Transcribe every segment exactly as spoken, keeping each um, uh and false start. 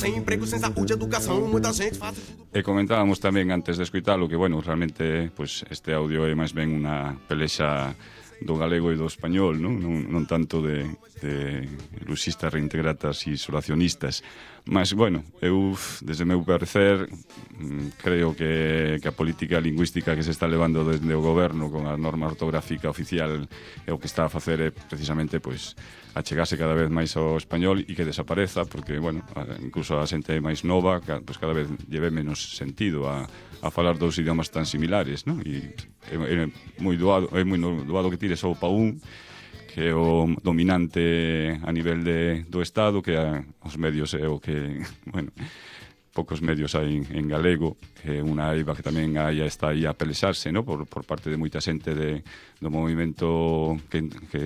sem emprego, sem saúde, educação, muita gente faz... E comentábamos tamén antes de escoitalo que, bueno, realmente pues, este audio é máis ben unha pelexa do galego e do español, non, non, non tanto de, de luxistas, reintegratas e isolacionistas. Mas, bueno, eu, desde o meu parecer, creo que, que a política lingüística que se está levando desde o goberno con a norma ortográfica oficial é o que está a facer é precisamente pois, achegarse cada vez máis ao español e que desapareza, porque, bueno, incluso a xente máis nova pois cada vez lleve menos sentido a, a falar dos idiomas tan similares, non? E é, é moi doado, é moi doado que tires o pa un, que é o dominante a nivel de, do Estado, que a, os medios é o que, bueno, poucos medios hai en, en galego, que é unha eiva que tamén hai, está aí a pelexarse, no? por, por parte de moita xente de, do movimento que, que,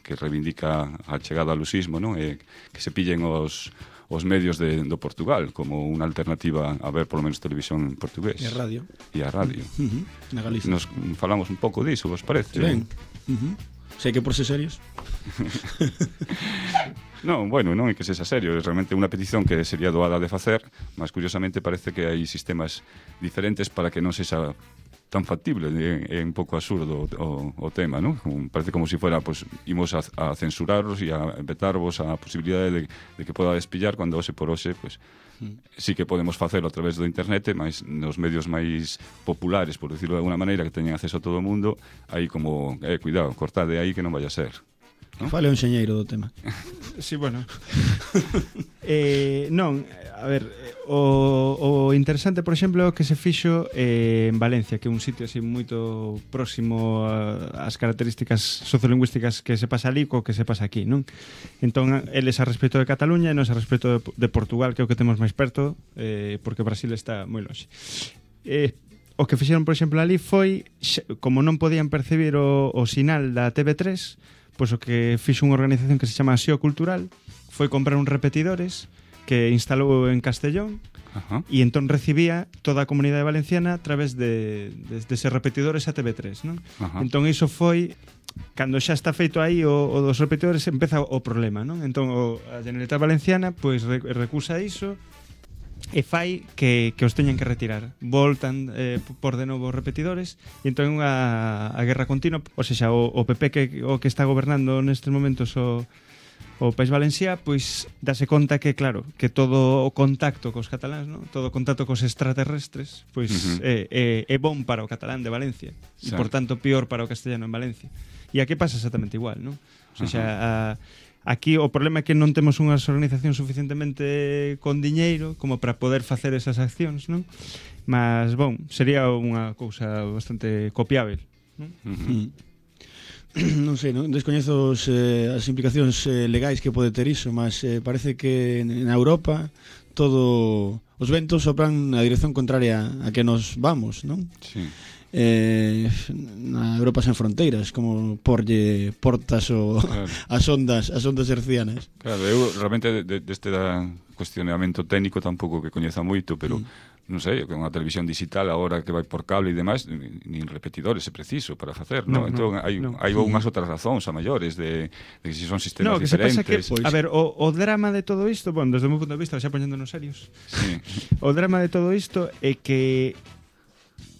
que reivindica a chegada ao luxismo, no? E que se pillen os, os medios de, do Portugal como unha alternativa a ver polo menos televisión en portugués. E a radio. E a radio. Uh-huh. Na Galicia. Nos falamos un pouco diso, vos parece? Ben. Uh-huh. Sei que por ser serios. Non, bueno, non é que sexa serio, é realmente unha petición que sería doada de facer, mas curiosamente parece que hai sistemas diferentes para que non sexa tan factible, é, é un pouco absurdo o, o tema, non? Parece como se si fuera, pues, imos a, a censuraros e a vetarvos a posibilidade de, de que poda despillar cando hoxe por hoxe, pues, sí que podemos facelo a través do internet, mas nos medios máis populares, por decirlo de alguna maneira, que teñen acceso a todo o mundo, aí como, eh, cuidado, cortade aí que non vaya a ser, non? Fale un xeñeiro do tema. Sí, bueno. eh, non, a ver, o, o interesante, por exemplo, é o que se fixo eh, en Valencia, que é un sitio así moito próximo ás características sociolingüísticas que se pasa ali co que se pasa aquí, non? Entón, eles a respecto de Cataluña e nos a respecto de, de Portugal, que é o que temos máis perto, eh, porque Brasil está moi longe. Eh, o que fixeron, por exemplo, ali foi, como non podían percibir o, o sinal da T V tres, pois o que fixo unha organización que se chama Xeo Cultural foi comprar uns repetidores que instalou en Castellón. Ajá. E entón recibía toda a comunidade valenciana a través de, de, de ser repetidores a T V tres, non? Ajá. Entón iso foi, cando xa está feito aí o, o dos repetidores, empeza o problema, non? Entón o, a Generalitat Valenciana pois recusa iso e fai que, que os teñan que retirar. Voltan eh, por de novo os repetidores e entón a, a guerra continua, ou seja, o, o P P que, o que está gobernando nestes momentos o, o País Valencià, pois dase conta que, claro, que todo o contacto cos cataláns, ¿no? Todo o contacto cos extraterrestres, pois uh-huh. é, é, é bon para o catalán de Valencia, sí. E por tanto pior para o castellano en Valencia. E aquí pasa exactamente igual, ¿no? O sea, uh-huh. a, aquí o problema é que non temos unhas organizacións suficientemente con diñeiro como para poder facer esas accións, non? Mas, bon, sería unha cousa bastante copiável, non? Uh-huh. Non sei, non descoñezo os, eh, as implicacións eh, legais que pode ter iso, mas eh, parece que na Europa todo os ventos sopran na dirección contraria a que nos vamos, non? Sí. Eh, na Europa sen fronteiras, como porlle portas o claro. as ondas, as ondas hercianas. Claro, eu realmente deste de, de cuestionamento técnico tampouco que coñeza moito, pero mm. non sei, con a televisión digital agora que vai por cable e demais, nin repetidores é preciso para facer, non? No, entón no, hai, no. hai unhas outras razóns a maiores de, de que si son sistemas no, que diferentes. Se pasa que, pois... A ver, o, o drama de todo isto, bueno, desde o meu punto de vista, xa poñéndonos serios, sí. O drama de todo isto é que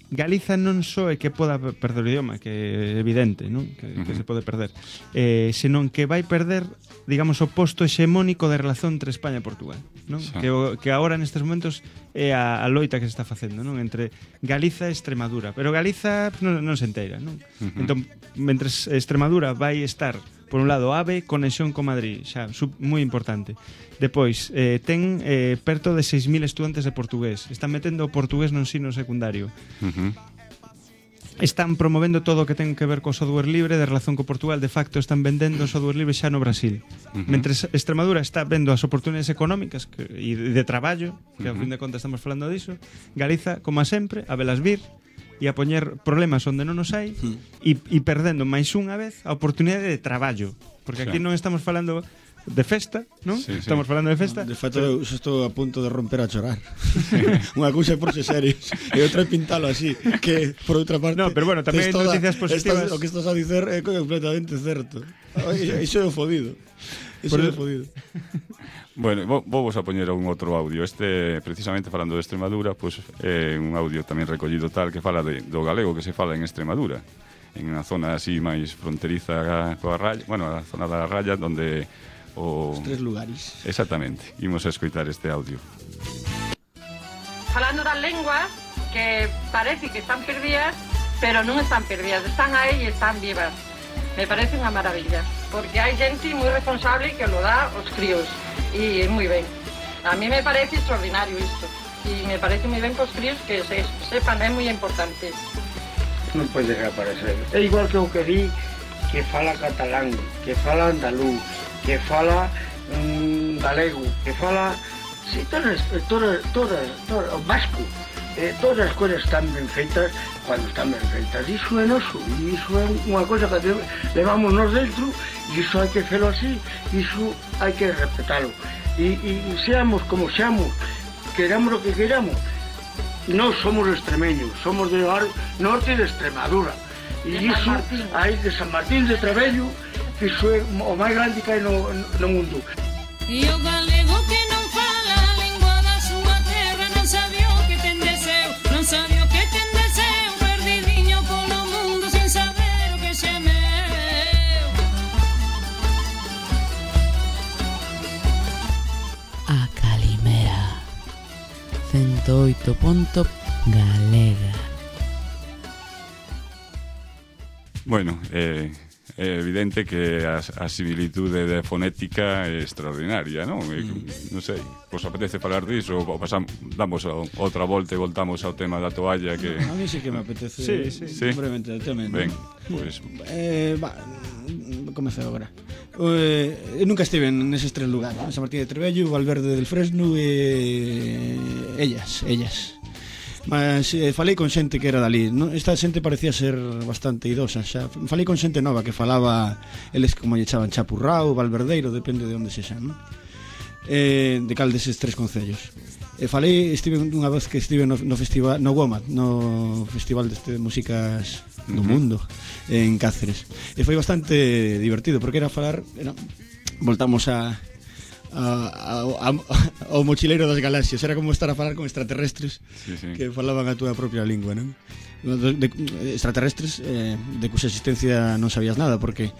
Galiza non só é que poda perder o idioma, que é evidente, non? Que, uh-huh. que se pode perder, eh, senón que vai perder, digamos, o posto hexemónico de relación entre España e Portugal, non? Sí. Que, o, que agora nestes momentos é a, a loita que se está facendo, non? Entre Galiza e Extremadura, pero Galiza non, non se enteira, non? Uh-huh. Entón, mentres Extremadura vai estar por un lado, AVE, conexión con Madrid, xa, sub, moi importante. Depois, eh, ten eh, perto de seis mil estudantes de portugués. Están metendo o portugués no ensino secundario. Uh-huh. Están promovendo todo o que ten que ver co software libre de relación co Portugal. De facto, están vendendo software libre xa no Brasil. Uh-huh. Mentres Extremadura está vendo as oportunidades económicas que, e de, de traballo, que uh-huh. ao fin de contas estamos falando diso, Galiza, como a sempre, a velas vir, e a poñer problemas onde non os hai e, e perdendo máis unha vez a oportunidade de traballo, porque aquí sí. non estamos falando de festa, non? Sí, sí. Estamos falando de festa. De feito, eu estou a punto de romper a chorar. Unha cousa por ser serios e outra pintalo así, que por outra parte no, pero bueno, tamén hai noticias positivas. Estás, o que estás a dicer é completamente certo. Iso é o fodido. Iso é o fodido. Bueno, vou, vou vos a poñer un outro audio. Este, precisamente falando de Extremadura, pois é un audio tamén recollido tal que fala de, do galego que se fala en Extremadura, en unha zona así máis fronteriza coa raya, bueno, a zona da raya onde o... Os tres lugares. Exactamente. Imos a escoitar este audio. Falando das lenguas que parece que están perdidas, pero non están perdidas, están aí e están vivas. Me parece unha maravilla, porque hai xente moi responsable que lo dá aos críos. Y muy bien. A mí me parece extraordinario esto. Y me parece muy bien que os críos que se sepan, é moi importante. Non pode desaparecer. É igual que o que di que fala catalán, que fala andaluz, que fala mmm, galego, que fala... Sí, todas, todas, todas, todas, o vasco. Eh, todas as coisas están ben feitas cando están ben feitas. Iso é noso, e iso é unha cosa que levamos nos dentro, e iso hai que felo así, iso hai que respetalo. E, e, e seamos como seamos, queramos o que queramos, non somos extremeños, somos de norte de Extremadura. E iso hai de San Martín de Trebello, que iso é o máis grande que hai no, no mundo. E o galego que non fala a lingua da súa terra non sabía o que ten deseo, non sabía o que ten deseo, perdidiño polo mundo sen saber o que xe é meu. A Calimera ciento oito punto galega. Bueno, eh, é evidente que a, a similitude de fonética é extraordinaria, non? Mm. Non sei, vos apetece falar disso ou pasamos, damos a, outra volta e voltamos ao tema da toalla que... A mí sí que me apetece. Sí, sí. Sí. Brevemente, tamén. Ben, pois... Pues... Eh, va, comece agora. Eh, eu nunca estive neses tres lugares, San Martín de Trebello, Valverde del Fresno e ellas, ellas. Mas eh, falei con xente que era dali, non? Esta xente parecía ser bastante idosa xa. Falei con xente nova que falaba, eles como lle chaban Chapurrao, Valverdeiro, depende de onde se xa, non? Eh, de cal deses tres concellos. E falei, estive unha vez que estive no, no festival, no WOMAD, no festival de músicas do mundo en Cáceres. E foi bastante divertido porque era falar, era, voltamos a A, a, a, ao mochileiro das galaxias. Era como estar a falar con extraterrestres, sí, sí, que falaban a túa propia lingua, non? De, de, extraterrestres eh, de cuxa existencia non sabías nada, porque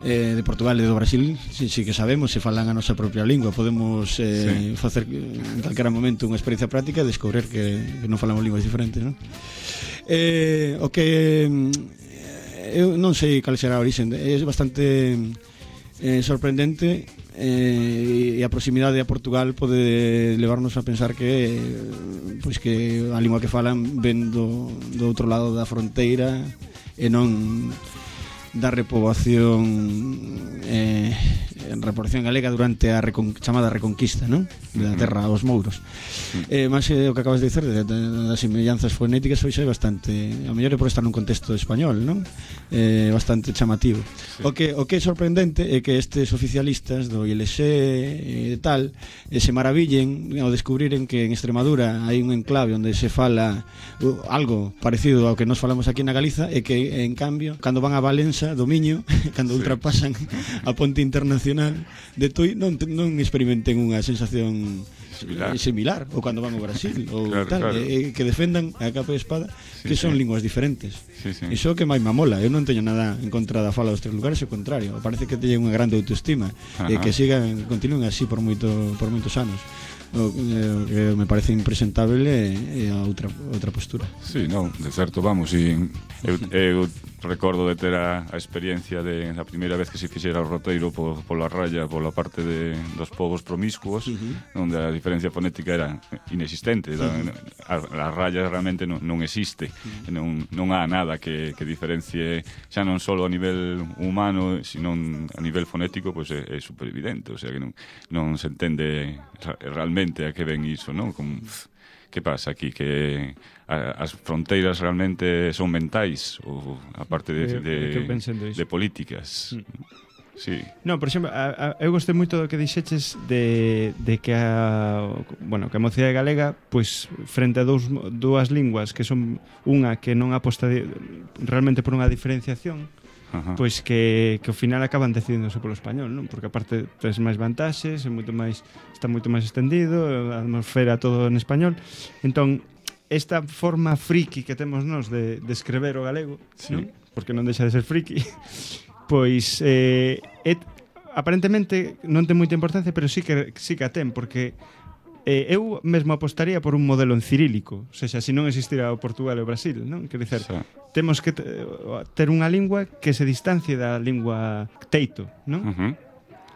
eh, de Portugal e do Brasil sí, sí que sabemos, se falan a nosa propia lingua. Podemos eh, sí. facer en calquera momento unha experiencia práctica e descobrir que, que non falamos linguas diferentes, non? Eh, o que eh, eu non sei cal será a origen, é bastante eh, sorprendente. Eh, e a proximidade a Portugal pode levarnos a pensar que pois que a lingua que falan ven do, do outro lado da fronteira e non da repoboación eh, en repoblación galega durante a recon, chamada Reconquista, non? Da terra aos mouros. Eh, mas eh, o que acabas de dicer de, de, das semellanzas fonéticas hoxe é bastante, a mellor é por estar nun contexto español, non? Eh, bastante chamativo. Sí. O que o que é sorprendente é que estes oficialistas do I L X e tal eh, se maravillen ao descubriren que en Extremadura hai un enclave onde se fala uh, algo parecido ao que nos falamos aquí na Galiza e que en cambio cando van a Valença do Miño, cando sí. ultrapasan a ponte internacional de Tui, non, non experimenten unha sensación similar, similar ou cando van ao Brasil ou claro, tal, claro. E, que defendan a capa e espada sí, que son sí. linguas diferentes. Sí, sí. Iso que máis mamola. Eu non teño nada en contra da fala dos tres lugares, ao contrario, parece que teñen unha grande autoestima. Ajá. E que sigan, continúen así por moito por moitos anos. O que me parece impresentable é a outra outra postura. Sí, non, de certo, vamos, e eu, eu recordo de ter a, a experiencia de a primeira vez que se fixera o roteiro po, pola raya, pola parte de, dos povos promiscuos, uh-huh. onde a diferencia fonética era inexistente. Uh-huh. a, a raya realmente non, non existe, uh-huh. non, non há nada que, que diferencie xa non só a nivel humano, sino a nivel fonético, pois é, é super evidente, o sea que non, non se entende realmente a que ven iso, non? Como, que pasa aquí? Que a, as fronteiras realmente son mentais ou a parte de, de, de, de políticas. Mm. Sí. No, por exemplo, a, a, eu gostei moito do que dixeches de, de que a bueno, que a mocidade galega, pois frente a dous, dúas linguas que son unha que non aposta de, realmente por unha diferenciación, Ajá. pois que, que ao final acaban decidíndose polo español, non? Porque aparte tes máis vantaxes, é moito máis, está moito máis extendido, a atmosfera todo en español. Entón, esta forma friki que temos nós de, de escrever o galego, sí. non? Porque non deixa de ser friki, pois eh, et, aparentemente non ten moita importancia, pero sí que, sí que a ten, porque eh, eu mesmo apostaría por un modelo en cirílico, ou seja, se non existira o Portugal e o Brasil, non? Quer dizer, sí. temos que ter unha lingua que se distancie da lingua teito, non? Uh-huh.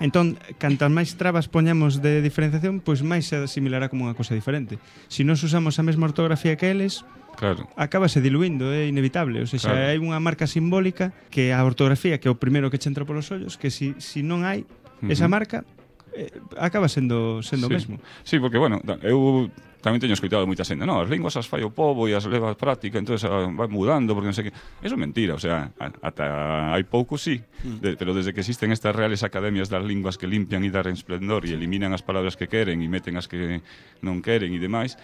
Entón, cantas máis trabas poñamos de diferenciación, pois máis se asimilará como unha cosa diferente. Se nós usamos a mesma ortografía que eles, claro, acábase diluindo, é inevitable. Ou seja, claro. hai unha marca simbólica que a ortografía, que é o primeiro que che entra polos ollos, que si, si non hai uh-huh. esa marca, eh, acaba sendo sendo sí. o mesmo. Sí, porque, bueno, eu tamén teño escoitado moita xente, no, as linguas as fai o pobo e as leva a práctica, entonces ah, vai mudando, porque non sei que... Eso é mentira, o sea, ata hai pouco sí, de, pero desde que existen estas reales academias das linguas que limpian e dar esplendor e eliminan as palabras que queren e meten as que non queren e demais,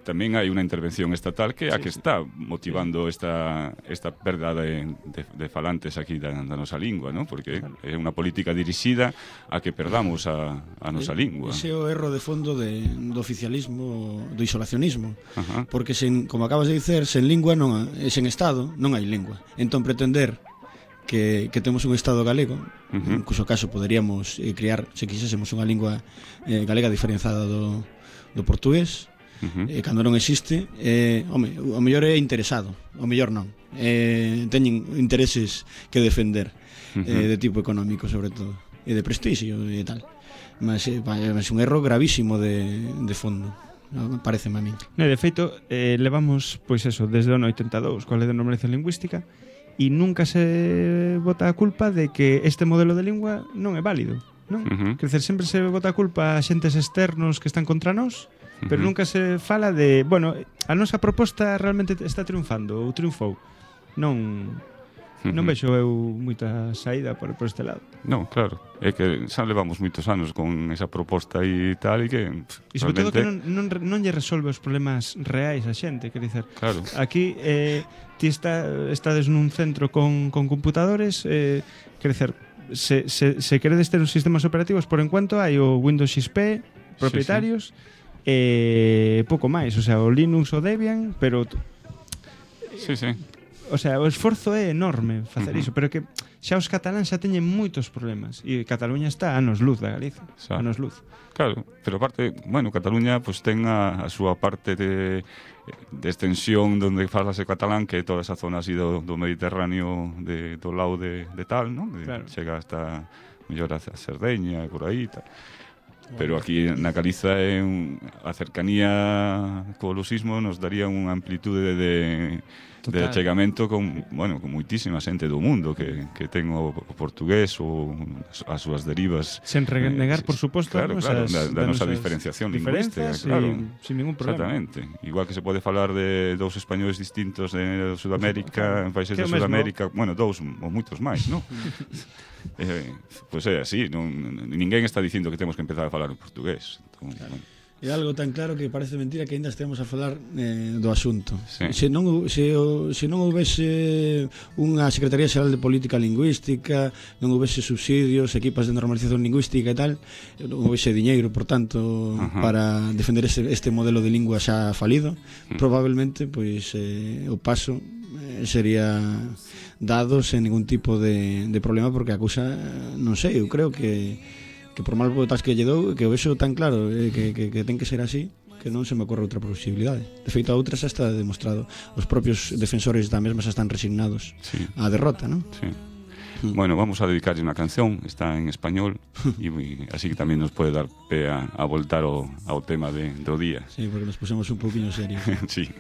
tamén hai unha intervención estatal que é a que está motivando esta, esta perda de, de, de falantes aquí da, da nosa lingua, ¿no? Porque é unha política dirixida a que perdamos a, a nosa lingua. Ese é o erro de fondo de, do oficialismo, do isolacionismo. Ajá. Porque, sen, como acabas de dicer, sen lingua, non, sen Estado, non hai lingua. Entón, pretender que, que temos un Estado galego, uh-huh. en cuxo caso poderíamos eh, crear, se quixésemos, unha lingua eh, galega diferenciada do, do portugués, Uh-huh. eh, cando non existe, eh, home, o mellor é interesado, o mellor non, eh, teñen intereses que defender, uh-huh. eh, de tipo económico sobre todo, e de prestixio e tal, mas é eh, un erro gravísimo de, de fondo, pareceme a mí. Ne, de feito, eh, levamos, pois eso, desde o ano oitenta e dous coa lei de normalización lingüística, e nunca se bota a culpa de que este modelo de lingua non é válido, non? Uh-huh. Quer dizer, sempre se bota a culpa a xentes externos que están contra nós, pero uh-huh. nunca se fala de, bueno, a nosa proposta realmente está triunfando ou triunfou. Non non uh-huh. vexo eu moita saída por, por este lado. Non, claro, é que xa levamos moitos anos con esa proposta e tal, e que e sobre todo que non, non, non lle resolve os problemas reais a xente, quer dizer, claro. Aquí eh, ti está, estades nun centro con, con computadores, eh, quer dizer, se, se, se queredes ter os sistemas operativos, por enquanto hai o Windows X P propietarios, sí, sí. E eh, pouco máis, o sea, o Linux o Debian, pero sí, sí. O sea, o esforzo é enorme facer uh-huh. iso, pero que xa os cataláns xa teñen moitos problemas e Cataluña está a anos luz da Galicia, a anos luz. Claro, pero aparte, bueno, Cataluña pues ten a, a súa parte de, de extensión donde falase catalán, que toda esa zona así do, do Mediterráneo de, do lado de, de tal, ¿no? De, claro. Chega hasta mellor a Cerdeña e por aí tal. Pero aquí na Galiza é un, a cercanía co lusismo nos daría unha amplitude de, de achegamento con, bueno, con moitísima xente do mundo que, que ten o, o portugués ou as súas derivas. Sen renegar, eh, por suposto, claro, claro, esas, da, da nosa diferenciación lingüística, claro. Sin ningún problema. Exactamente. Igual que se pode falar de dous españoles distintos de Sudamérica, en países de Sudamérica, bueno, dous ou moitos máis, non? Eh, pois pues é así, non, ninguén está dicindo que temos que empezar a falar en portugués. Entón, claro. Bueno. É algo tan claro que parece mentira que ainda estemos a falar eh, do asunto. Sí. Se non se, se non houvese unha Secretaría Xeral de Política Lingüística, non houvese subsidios, equipas de normalización lingüística e tal, non houvese diñeiro, por tanto, uh-huh. para defender este, este modelo de lingua xa falido, uh-huh. probablemente pois eh, o paso eh, sería dado sen ningún tipo de, de problema, porque a cousa, non sei, eu creo que que por mal botas que lle dou, que o vexo tan claro, eh, que, que, que ten que ser así, que non se me ocorre outra posibilidade. De feito, a outra xa está demostrado. Os propios defensores da mesma xa están resignados sí. á derrota, non? Sí. Mm. Bueno, vamos a dedicarlle unha canción, está en español, e así que tamén nos pode dar pé a, a voltar ao, ao tema de, do día. Sí, porque nos pusemos un pouquinho serios. Sí.